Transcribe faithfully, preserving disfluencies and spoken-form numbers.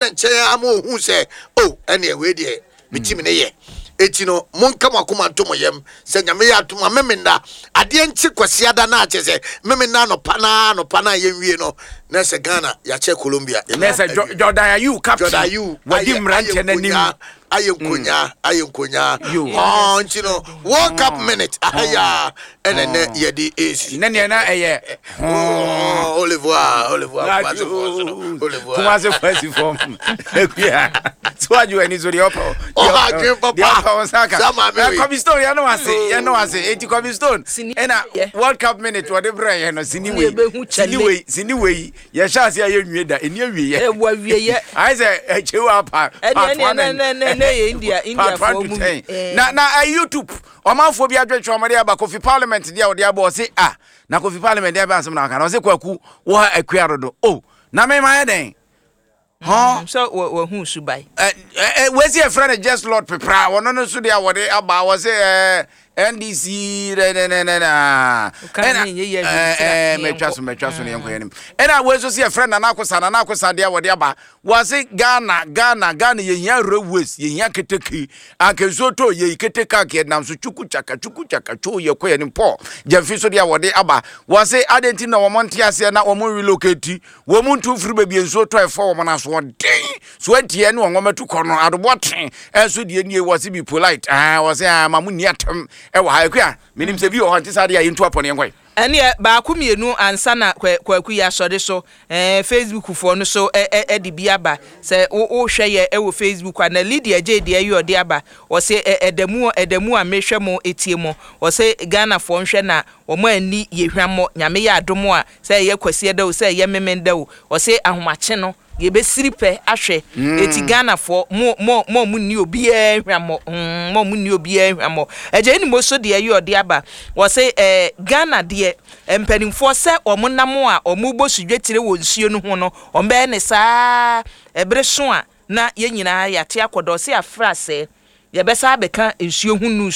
Nkyɛn ama ohun sɛ o, ɛnna wei deɛ me team ne yɛ. Eti no, monka mo akoma nto mo yam sɛ Nyame yɛ atom a, Memenda adeɛ nkye Kwasiada na akyɛ sɛ Memenda anɔpa naa anɔpa naa yɛnwie no na sɛ Ghana yɛakyɛ Colombia. Na sɛ Jo- Jordan Ayew captain Jordan Ayew wadi mmeranteɛ n'anim. Ayɛ nkonya, ayɛ nkonya. Yo. Ɔɔ, nti no World Cup minute ahaya ɛna nɛ yɛde esi. Ne neɛ na ɛyɛ Au revoir, au revoir, Kumasi fɔ so, au revoir. Kumase fasi fam akua so adwo w'ani so deɛ ɔpɛ. Ɔha adwene papa. Deɛ ɔpɛ wo nsa ka. Saa maame wei. Kobe Stone, yɛne wase, yɛne wase. Enti Kobe Stone Sini ɛna yɛ. World Cup minute wɔde brɛ yɛ no, sini wei. Yɛbɛhu sini kyɛle. Wei sini wei yɛhyɛ ase a yɛnwie da, ɛni awie yɛ. Ɛwɔ awieyɛ. Ayɛ sɛ ɛkyɛw apa Ɛne- part ɛne- one and ɛne- ɛne- ɛne yɛ India- part one Indiafoɔ to mu ten. bi. Eh. na na ɛ YouTube ɔmanfoɔ bi adwetwe ɔmɔde aba. Kofi Parliament deɛ ɔde aba, ɔse ah, na Kofi Parliament deɛ aba asɛm na aka na ɔse Kwaku wɔ ha akua dodo o, na mema yɛ dɛn hɔn? Sɛ wahu subae. Ɛ ɛ wesi ɛfrɛ no Just Lord Pepra, wɔno no so deɛ a wɔde aba, wɔ sɛ ɛ N D C nɛnɛnɛnɛ. Woka ne nyɛ yɛ ɛɛ ahwɛ mɛtwa so, mɛtwa so ne yɛnkɔ yɛnim. Ɛna wei nso sɛ yɛfrɛ Nana Akosa, Nana Akosa deɛ a wɔde aba, wɔse Ghana, Ghana, Ghana yɛhia railways, yɛhia keteke. Anka nsuo tɔ yɛyi keteke anka yɛnam so twuku kyaka twuku kyaka two yɛkɔ yɛnim. Paul Gyamfi so deɛ a wɔde aba, wɔse adɛn nti na wɔn nte aseɛ na wɔn relocate wɔn mu ntu firi baabi nsuo tɔ ɛfɔ wɔn aso ɔden so antiɛ ne wɔn wɔn atu kɔ no adoboɔ ten. Ɛnso deɛ nie, wɔse be polite. Ah, wɔse ah, ma mo nni atam ɛwɔ ha. Akua, menim sɛ bi wɔ hɔ nte saa deɛ a yɛntu apɔ ne yɛnkɔe. Ɛneɛ baako mmienu ansa na Kwa- kwaku yɛ asɔre so. ɛɛ Facebook foɔ no so ɛ ɛ ɛde bi aba sɛ wo wohwɛ yɛ ɛwɔ Facebook a, na Lydia gye deɛ ɛyɛ ɔde aba. Ɔsɛ ɛ ɛda mu, ɛda mu a mehwɛ mo etie mo. Ɔsɛ Ghanafoɔ nhwɛ na wɔn ani yɛ hwammɔ. Nyame yɛ adom a, sɛ ɛyɛ Kwasi ɛda o, sɛ ɛyɛ Memenda o, ɔsɛ ahomakye no yɛbɛsiri pɛ ahwɛ. Eti Ghanafoɔ, mo mo mo a mo nni obiara hwammɔ, mm, mo a mo nni obiara hwammɔ. Ɛgya ɛni mo so deɛ ɛyɛ ɔde aba, wɔsɛ ɛɛ Ghana deɛ, mpanimfoɔ sɛ wɔn nam a wɔn bɔ sudwetire wɔ nsuo no ho no, wɔn bɛyɛ ne saa ɛbere so a na yɛn nyinaa yɛate akɔdɔ. Ɔsɛ afra sɛ yɛbɛsa abɛka nsuo ho news.